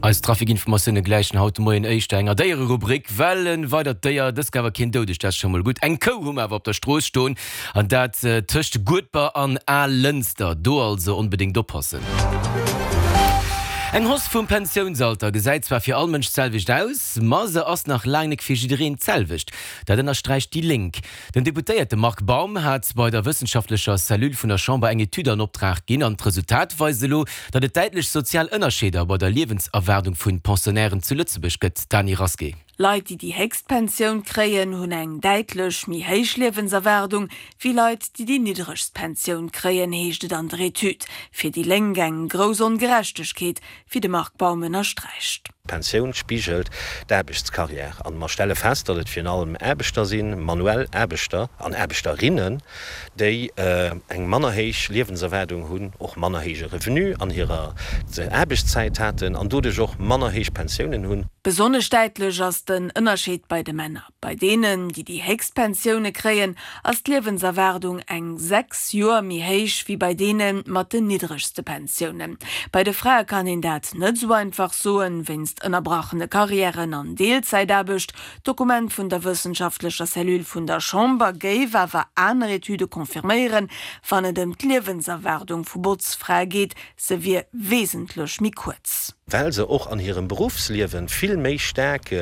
Eis Trafikinformatioune gläichen haut de Moien éischter enger Déiererubrik, well e weidert Déier, dëst awer keen doudegt, dat ass scho mol gutt, eng Kou hu mer awer op der Strooss stoen, an dat tëscht Guedber an Alënster. Do also onbedéngt oppassen. Eng Hausse vum Pensiounsalter gesäit zwar fir all Mënsch d'selwecht aus, ma se ass nach laang nek fir jiddereen d'selwecht. Dat ënnersträicht déi Lénk. Den Deputéierte Marc Baum hat bei der wëssenschaftlecher Cellule vun der Chamber eng Etüd an Optrag ginn an d'Resultat weist elo, datt et däitlech sozial Ënnerscheeder bei der Liewenserwaardung vun Pensionnairen zu Lëtzebuerg gëtt. Dany Rasqué. Leit, déi déi héchst Pensioun kréien, hunn eng däitlech méi héich Liewenserwaardung wéi Leit, déi déi niddregst Pensioun kréien, heescht et an der Etüd. Fir déi Lénk eng grouss Ongerechtegkeet, wéi de Marc Baum ënnersträicht. D'Pensioun spigelt d'Aarbechtskarriär an mer stelle fest, datt et virun allem Aarbechter sinn, manuell Aarbechter an Aarbechterinnen, déi eng manner héich Liewenserwaardung hunn, och manner héije Revenu an hirer Aarbechtszäit haten an doduerch och manner héich Pensiounen hunn. Besonnesch däitlech ass den Ënnerscheed bei de Männer. Bei deenen, déi déi héchst Pensioune kréien, ass d'Liewenserwaardung eng 6 Joer méi héich wéi bei deene mat den niddregste Pensiounen. Bei de Frae kann een dat net esou einfach soen, wéinst ënnerbrachene Karriären an Deelzäitaarbecht. D'Dokument vun der wëssenschaftlecher Cellule vun der Chamber géif awer aner Etüde confirméieren, wann et ëm d'Liewenserwaardung vu Botzfrae geet, se wier wesentlech méi kuerz. Well se och an hirem Beruffsliewe vill méi staark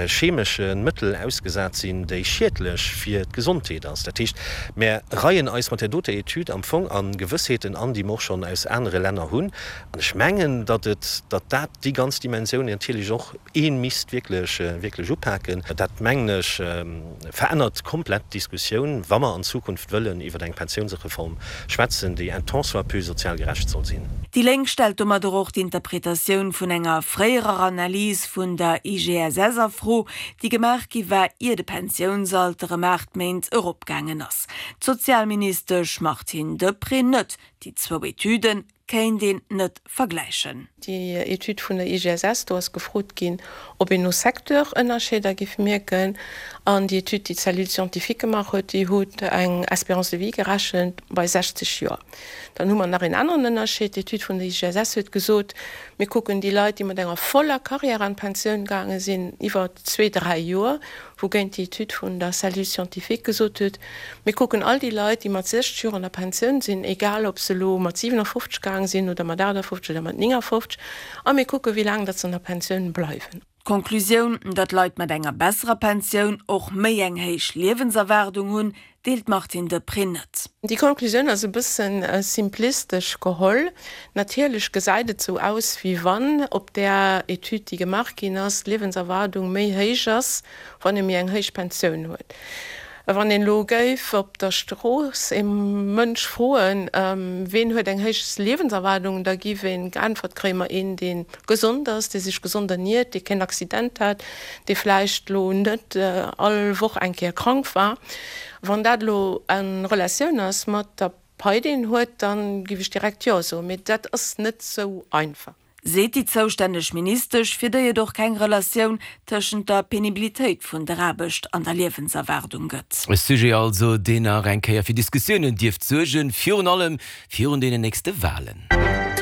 chemesche Mëttel ausgesat sinn, déi schiedlech fir d'Gesondheet ass. Dat heescht, mär reien eis mat där doter Etüd am Fong a Gewëssheeten an, déi mer och schonn aus anere Länner hunn. An ech mengen, datt et, datt dat déi ganz Dimensioun natierlech och ee misst wierklech, wierklech upaken. Dat, mengen ech, verännert komplett d'Diskussioun, wa mer an Zukunft wëllen iwwer eng Pensiounsreform schwätzen, déi un tant soit peu sozial gerecht soll sinn. Déi Lénk stellt domadder och d'Interpretatioun vun enger fréierer Analys vun der IGSS a Fro, déi gemaach gi war, ier de Pensiounsalter ëm 8 Méint eropgaangen ass. D'Sozialministesch Martine Deprez net. Déi zwou Etüde kéint een net vergläichen. Déi Etüd vun der IGSS, do ass gefrot ginn, ob een no Secteur Ënnerscheeder giff mierken. An déi Etüd, déi d'Cellule scientifique gemaach huet, déi huet eng Espérance de vie gerechent bei 60 Joer. Dann hu mer nach een aneren Ënnerscheed, D'Etüd vun der IGSS huet gesot, mir kucken déi Leit, déi mat enger voller Carrière an d'Pensioun gaange sinn, iwwer zwee, dräi Joer, wougéint déi Etüd vun der Cellule scientifique gesot huet, Mir kucken all déi Leit, déi mat 60 Joer an der Pensioun sinn, egal ob se elo mat 57 gaang sinn oder mat 58 oder mat 59, a mir kucken, wéi laang datt se an der Pensioun bleiwen. D'Konklusioun, datt Leit mat enger besserer Pensioun och méi eng héich Liewenserwaardung hunn, deelt d'Martine Deprez net. Déi Konklusioun ass e bësse simplistesch geholl. Natierlech gesäit et sou aus, wéi wann op där Etüd, déi gemaach ginn ass, d'Liewenserwaardung méi héich ass, wann ee méi eng héich Pensioun huet. Wann een elo géif op der Strooss ee Mënsch froen, ween huet eng héich Liewenserwaardung, da giff een geäntwert kréien, ma een dee gesond ass, dee sech gesond erniert, dee keen Accident hat, dee vläicht elo net all Woch eng Kéier krank war. Wann dat elo en Relatioun ass mat der Pai déi een huet, dann giff ech direkt jo soen. Mee dat ass net sou einfach. Seet déi zoustänneg Ministesch, fir déi et och keng Relatioun tëschent der Penibilitéit vun der Aarbecht an der Liewenserwaardung gëtt. E Sujet also, deen nach eng Kéier fir Diskussiounen dierft suergen, virun allem virun deenen nächste Walen.